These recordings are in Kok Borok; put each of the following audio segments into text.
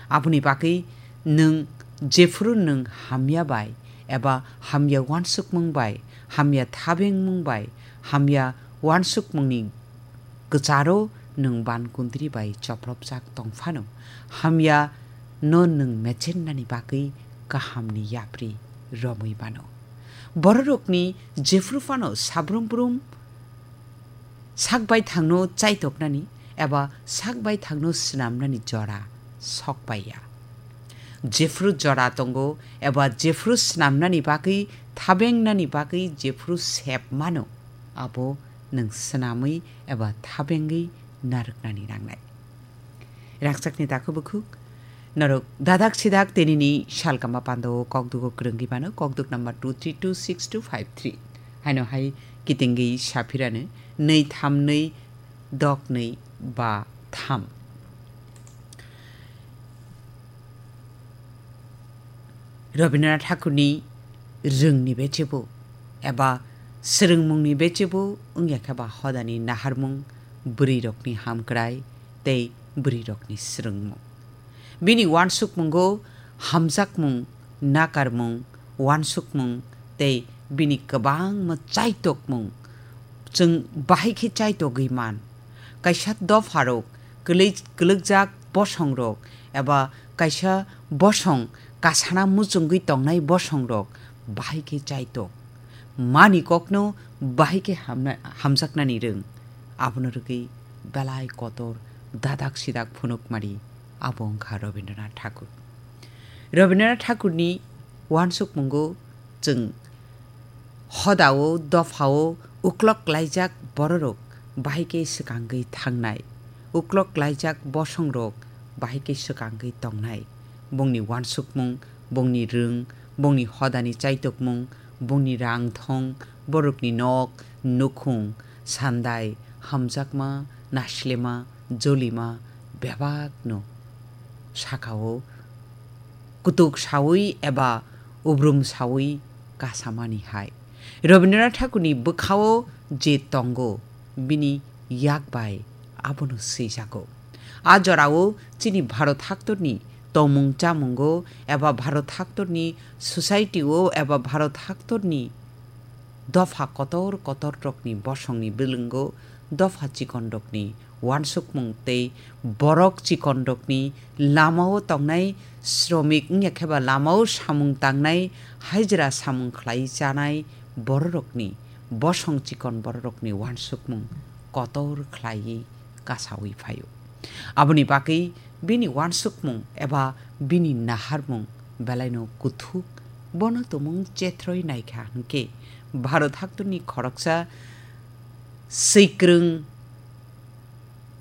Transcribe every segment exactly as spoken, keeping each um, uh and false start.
Aboni bagwi nwng jephuru nwng hamya bai eba hamya uansukmung bai, hamya thabengmung bai, hamya uansukmungni kwcharo nwng ban kundri bai chopropjak tong phano, hamya no nwng mechennani bagwi kahamni yapri romwi mano. Bororokni jephuru phano sabrum brum sak baithangno chaitoknani eba sak baithangno swnamnani jora sok paiya. Jephuru jora tongo eba jephuru swnamnani bagwi, thabengnani bagwi jephuru sep mano, abo nwng swnamwi eba thabengwi narwknani nangnai. Rangchakni takhuk bukhuk, norok dadak sidak tinini salkama pando kokdugo kwrwngwi mano, kokduk number two three two six two five three. Haino hai kitingwi saphirano, nwi tham nwi dok nwi ba tham. Rabindranath Thakurni rwngni bechebo eba swrwngmungni bechebo wngya khe ba hodani naharmung, bwrwirokni hamkrai tei bwrwirokni swrwngmung. Bini uansukmungo hamjakmung, nakarmung, uansukmung tei bini kwbangma chaitokmung chwng bahai khe chaitogwi man. Kaisa dopharok, kwlwi-, kwlwkjak bosongrok eba kaisa bosong kasana muchungwi tongnai bosongrok bahai khe chaitok. Mani kokno bahai khe hamna-, hamjaknani rwng. Abono rwgwi belai kotor dadak sidak phunukmari abo wngkha Rabindranath Thakur. Rabindranath Thakurni uansukmungo chwng hodao, dophao uklok klaijak bororok bahai khe swkangwi thangnai, uklok klaijak bosongrok bahai khe swkangwi tongnai. Bongni uansukmung, bongni rwng, bongni hodani chaitokmung, bongni rang thong, borokni nok, nukhung, sandai, hamjakma, naslema, jolima bebakno sakao kutuk saui eba ubrum saui kasamani hai. Rabindranath Thakurni bwkhao je tongo, bini yak bai abono swijago. A jorao chini Bharat haktorni tongmung chamungo eba Bharat haktorni society-o eba Bharat haktorni dopha kotor kotor rokni bosongni bwlwngo dopha chikon rokni uansukmung tei borok chikon rokni lamao tongnai sromik wngya khe ba lamao samung tangnai hajra samung khlai chanai bororokni bosong chikon bororokni uansukmung kotor khlaiwi kasaui phaio. Aboni bagwi bini uansukmung eba bini naharmung belaino kuthuk, bono tumung chethroi naikha hwnkhe Bharat haktorni khoroksa swikwrwng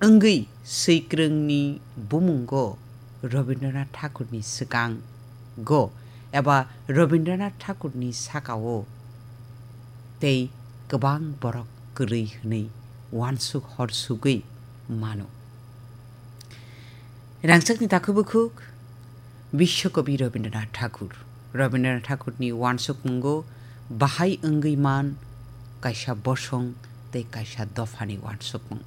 wngwi swikwrwngni bumungo Rabindranath Thakurni swkango eba Rabindranath Thakurni sakao tei kwbang borok kwrwi hwnwi uansuk hor sugwi mano. Rangchakni takhuk bukhuk Biswakobi Rabindranath Thakur. Rabindranath Thakurni uansukmungo bahai wngwi man kaisa bosong tei kaisa dophani uansukmung.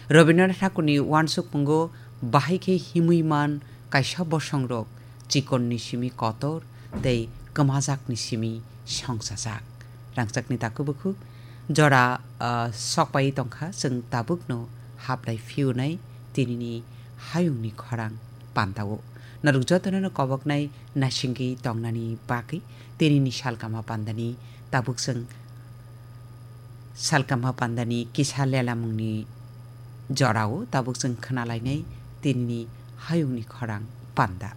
Rabindranath Thakurni uansukmungo bahai khe himwi man kaisa bosongrok chikonni simi kotor tei kwmajakni simi songchajak. Rangchakni takhuk bukhuk jora, ah, sokpai tongkha, chwng tabukno haplai phiyunai tinini hayungni khorang pandao. Norok jotono no koboknai naisingwi tongnani bagwi tinini salkama pandani tabuk chwng salkama pandani kisa lelamungni jorao tabuk chwng khwnalainai tinini hayungni khorang panda.